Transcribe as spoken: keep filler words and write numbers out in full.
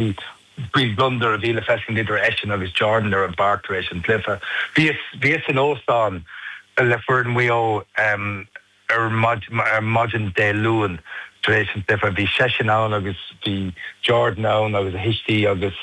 Bhí gliondar a bhí le feiscint idir eisean agus Jordan ar an bpáirc tar éis an chluiche. Bhíos in óstán le foireann Mhaigh Eo um, ar maidin Dé Luain tar éis an chluiche bhí seisean ann agus bhí Jordan ann agus a thuistí agus